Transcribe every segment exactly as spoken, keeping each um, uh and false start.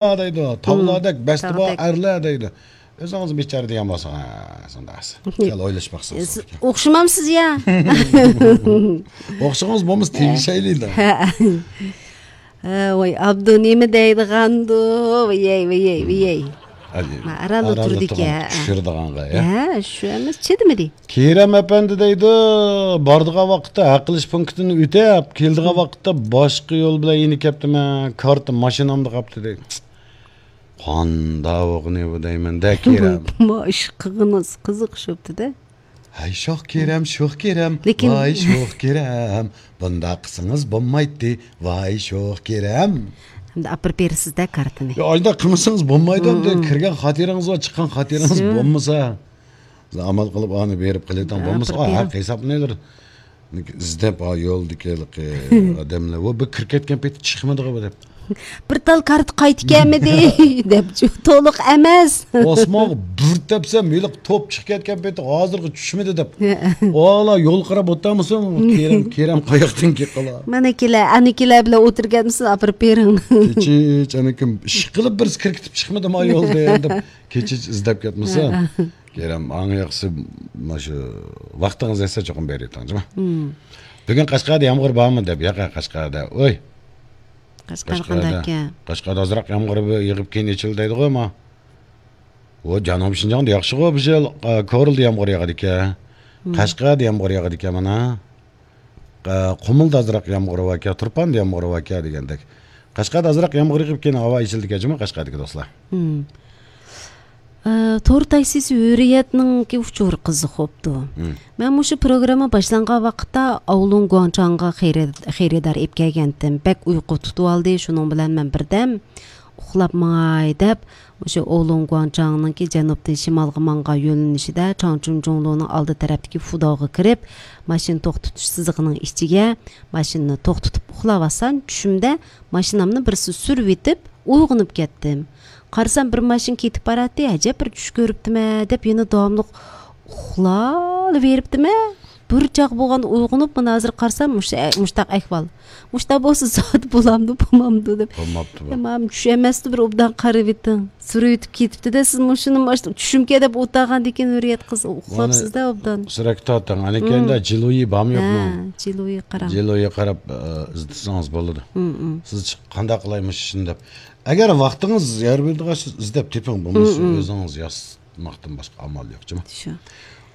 دەيدۇ، تاغلاردەك بەستى بار تاغدەك. ئەرلەر دەيدۇ. ئۆزىڭىز بىچارە دېگەن بولسا، ھە، شۇنداق. سەل ئويلىشىپ باقسىڭىز. سىز ئوخشىمامسىز يا؟ ئوخشىغىڭىز بولمىسا تېگىشەيلى. ھە، ۋاي، ئابدۇ نېمە دەيدىغاندۇ؟ ۋىيەي، ۋىيەي، ۋىيەي. ئەي، ما، ئاراندا ئاراندا تۇرىدىكەن. تۇرغان چۈشۈرىدىغانغا، يا؟ ھە، شۇ ئەمەس، چىدىمىدى. كېرەم ئەپەندى دەيدۇ، بارىدىغان ۋاقىتتا ھەق ئېلىش پونكىتىنى ئۆتەپ، كېلىدىغان ۋاقىتتا باشقا يول بىلەن يېنىپ كەپتىمەن، كارتا ماشىنامدا قاپتۇ دەيدۇ. قانداق ئوغنى بۇ دەيمەن-دە، كېرەم. ما ئىش قىلغىنىڭىز قىزىق شوپتىدە. ھەي، شوخ كېرەم، شوخ كېرەم، لېكىن ۋاي، شوخ كېرەم، بۇنداق قىلسىڭىز بولمايتتى، ۋاي، شوخ كېرەم. ئەمدى ئاپىرىپ بېرىسىز-دە كارتىنى. يا، ئانداق قىلمىسىڭىز بولمايدۇ، ئەمدى كىرگەن خاتىرىڭىز بار، چىققان خاتىرىڭىز بولمىسا. ئامال قىلىپ ئانى بېرىپ قىلىۋېتىڭ، بولمىسا، ھەق ھېسابلىنىۋېرىدۇ. ئىزدەپ، ھا، يولدىكى ھېلىقى ئادەملەر، ۋو، بىر كىرىپ كەتكەن پېتى چىقمىدىغۇ دەپ. بىر تال كارتا قايتىپ كەلمىدى، دەپ، تولۇق ئەمەس. ئاسمانغا بىر تەپسەم، ھېلىقى توپ چىقىپ كەتكەن پېتى ھازىرغا چۈشمىدى دەپ. ۋالا يول قاراپ ئولتۇرمىسۇن، كېرەم، كېرەم قاياقتىن كېلىپ قالا. مانا كېلە، ئەنە كېلە بىلەن ئولتۇرۇپ كەتمىسۇن، ئاپىرىپ بېرىڭ. كېچىچ، ئەنە كىم ئىش قىلىپ بىرسى كىرىپ كېتىپ چىقمىدىمۇ يولدا دەپ، كېچىچ ئىزدەپ كەتمىسە. كېرەم، ئەڭ ياخشىسى مانا شۇ ۋاقتىڭىز يەتسە چوقۇم بېرىۋېتىڭ، جۇمۇ. بۈگۈن قەشقەردە يامغۇر بارمۇ دەپ، ياق، قەشقەردە، ئۇي. قەشقەر قەشقەردە، قانداككەن؟ قەشقەردە ئازراق يامغۇر بىر يېغىپ كېيىن ئېچىلدى دەيدىغۇ، ئەمما. ئۇ جەنۇبىي شىنجاڭدا ياخشىغۇ، بۇ يىل، ئە، كورلىدا يامغۇر ياغىدىكەن. قەشقەردە يامغۇر ياغىدىكەن مانا. ئە، قۇمۇلدا ئازراق يامغۇر باركەن، تۇرپاندا يامغۇر باركەن دېگەندەك. قەشقەردە ئازراق يامغۇر يېغىپ كېيىن ھاۋا ئېچىلدىكەن جۇمۇ قەشقەردىكى دوستلار. ئە، تور تاكسىسى ھۆرىيەتنىڭكى ئۇچۇرى قىزىق بوپتۇ. مەن مۇشۇ پروگرامما باشلانغان ۋاقىتتا ئاۋلۇن گۇاڭچاڭغا خېرىد-، خېرىدار ئېلىپ كەلگەنتىم. بەك ئۇيقۇ تۇتۇۋالدى، شۇنىڭ بىلەن مەن بىردەم ئۇخلاپ ماڭاي دەپ، مۇشۇ ئاۋلۇن گۇاڭچاڭنىڭكى جەنۇبتىن شىمالغا ماڭغان يۆنىلىشىدە چاڭچۇنجۇڭلۇنىڭ ئالدى تەرەپتىكى فۇداغا كىرىپ، ماشىنا توختىتىش سىزىقىنىڭ ئىچىگە ماشىنىنى توختىتىپ ئۇخلاۋاتسام، چۈشۈمدە ماشىنامنى بىرسى سۈرۈۋېتىپ، ئويغىنىپ كەتتىم. قارىسام، بىر ماشىنا كېتىپ باراتتى، ئەجەب بىر چۈش كۆرۈپتىمەن دەپ يەنە داۋاملىق ئۇخلاۋېرىپتىمەن. بىر چاغ بولغان ئويغىنىپ، مانا ھازىر قارىسام، مۇشۇ ئە-، مۇشتاق ئەھۋال. مۇشتاق بولسا زادى بولامدۇ، بولمامدۇ دەپ. بولماپتۇ بۇ. يا، مانا چۈش ئەمەستۇ، بىر ئوبدان قارىۋېتىڭ. سۈرۈۋېتىپ كېتىپتۇ-دە، سىز مۇشۇنى ماشىنا چۈشۈمكەن دەپ ئولتۇرغاندىكىن ھۆرىيەت قىز ئۇخلاپسىز-دە ئوبدان. سۈرەتكە تارتىڭ. ئەنىكەندە جىلۇيى بارمۇ يوقمۇ؟ ھە، جىلۇيى قاراڭ. جىلۇيى قاراپ، ئە، ئىزدىسىڭىز بولىدۇ. سىز چىق-، قانداق قىلاي مۇشۇ ئىشنى دەپ. ئەگەر ۋاقتىڭىز يار بېرىدىغان ئىزدەپ تېپىڭ، بولمىسا ئۆزىڭىز ياسىماقتىن باشقا ئامال يوق، جۇمۇ. شۇ.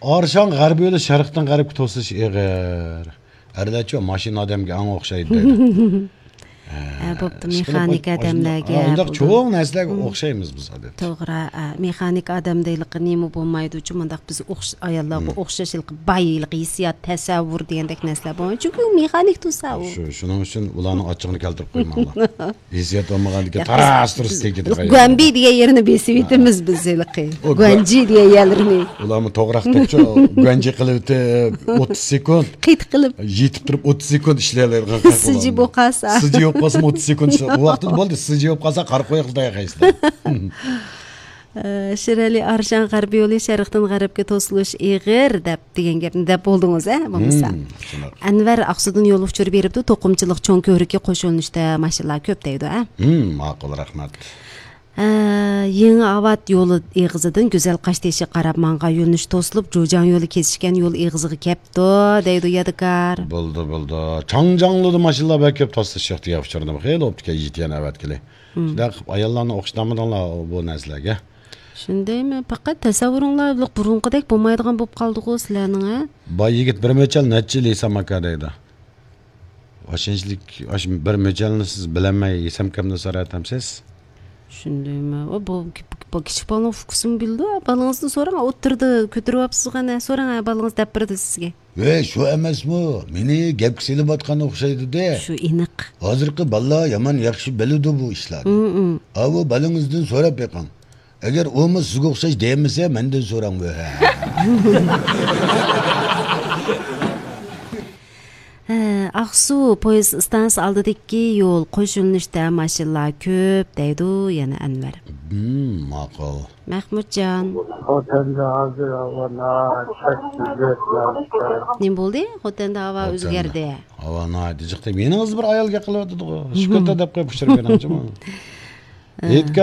ئارشاڭ غەربىي يولى شەرقتىن غەربكە توسۇلۇش ئېغىر. ئەرلەرچۇ ماشىنا ئادەمگە ئەڭ ئوخشايدۇ دەيدۇ. ھە، بوپتۇ، مېخانىك ئادەملەرگە ئۇنداق چوڭ نەرسىلەرگە ئوخشايمىز بىز، ئادەتتە. توغرا، ئە، مېخانىك ئادەمدە ھېلىقى نېمە بولمايدۇ، چۇ، مۇنداق بىز ئوخش-، ئاياللارغا ئوخشاش ھېلىقى باي، ھېلىقى ھېسسىيات، تەسەۋۋۇر دېگەندەك نەرسىلەر بولمايدۇ. چۈنكى ئۇ مېخانىك تۇرسا ئۇ. شۇ، شۇنىڭ ئۈچۈن ئۇلارنىڭ ئاچچىقىنى كەلتۈرۈپ قويماڭلار. ھېسسىيات بولمىغاندىكىن تاراس تۇرۇس تېگىدىغان. گۇەنبى دېگەن يېرىنى بېسىۋېتىمىز بىز ھېلىقى. گۇەنجى دېگەن يەرلىرىنى. ئۇلارمۇ توغراق توپچۇ گۇەنجى قىلىۋېتىپ، ئوتتۇز سېكۇنت. قېيىت قىلىپ. يېتىپ تۇرۇپ ئوتتۇز سېكۇنت ئىشلەيلەيدىغان خەق. سىجى بولۇپ قالسا. سىجى بولۇپ قالسىمۇ ئوتتۇز سېكۇنت ئىشلەپ. ئۇ ۋاقتىدا بولدى، سىجى بولۇپ قالسا قارا قويۇق دەيەخەيسىلەر. ئە، شىرئەلى ئارشان غەربىي يولى شەرقتىن غەربكە توسۇلۇش ئېغىر دەپ دېگەن گەپنى دەپ بولدىڭىز، ھە، بولمىسا. ئەنۋەر ئاقسۇدىن يول ئۇچۇرى بېرىپتۇ، توقۇمىچىلىق چوڭ كۆۋرۈكى قوش يۆنىلىشتە ماشىنىلار كۆپ دەيدۇ، ھە؟ ماقۇل، رەھمەت. ئە، يېڭى ئاۋات يولى ئېغىزىدىن گۈزەل قاشتېشىغا قاراپ ماڭغان يۆنىلىش توسۇلۇپ، جۇجياڭ يولى كېسىشكەن يول ئېغىزىغا كەپتۇ، دەيدۇ يادىكار. بولدى، بولدى. چاڭجياڭلۇدا ماشىنىلار بەك كۆپ، توسۇلۇش ئىختىيار ئۇچۇرىدىمۇ خېلى بوپتىكەن، يېتىيەن ئەۋەتكىلى. شۇنداق قىلىپ ئاياللارنى ئوخشىتالمىدىڭلار بۇ نەرسىلەرگە. شۇندايمۇ؟ پەقەت تەسەۋۋۇرۇڭلار بۇرۇنقىدەك بولمايدىغان بولۇپ قالدىغۇ سىلەرنىڭ، ھە؟ باي يىگىت بىر مۆچەل نەچچە يىل ھېسام ئاكا دەيدۇ. ئاشۇنچىلىك، ئاشۇ بىر مۆچەلنى سىز بىلەلمەي ھېسام ئاكامدىن سوراۋاتامسىز؟ شۇندايمۇ؟ ئۇ بۇ، بۇ كىچىك بالىنىڭ ئۇكىسىمۇ بىلىدۇ. بالىڭىزدىن سوراڭ، ئوتتۇرىدا كۆتۈرۈۋاپسىزغۇ، ئەنە سوراڭ، ھە، بالىڭىز دەپ بېرىدۇ سىزگە. ۋەي، شۇ ئەمەسمۇ؟ مېنى گەپكە سېلىۋاتقان ئوخشايدۇ-دە. شۇ ئېنىق. ھازىرقى بالىلار يامان ياخشى بىلىدۇ بۇ ئىشلارنى. ئاۋۇ بالىڭىزدىن سوراپ بېقىڭ. ئەگەر ئۇمۇ سىزگە ئوخشاش دېيەلمىسە، مەندىن سوراڭ. ھە، ئاقسۇ پويىز ئىستانسىسى ئالدىدىكى يول قوش يۆنىلىشتە ماشىنىلار كۆپ، دەيدۇ يەنە ئەنۋەر. ماقۇل. مەخمۇتجان. خوتەندە ھازىر ھاۋا ناھايىتى تەس ئۆزگەردى. نېمە بولدى؟ خوتەندە ھاۋا ئۆزگەردى. ھاۋا ناھايىتى جىق دەپ، يېنىڭىزدا بىر ئايال گەپ قىلىۋاتىدىغۇ. شۈكۈر دەپ قويۇپ ئۇچۇرۇپ بېرىڭچىمۇ. ھېيتگاھ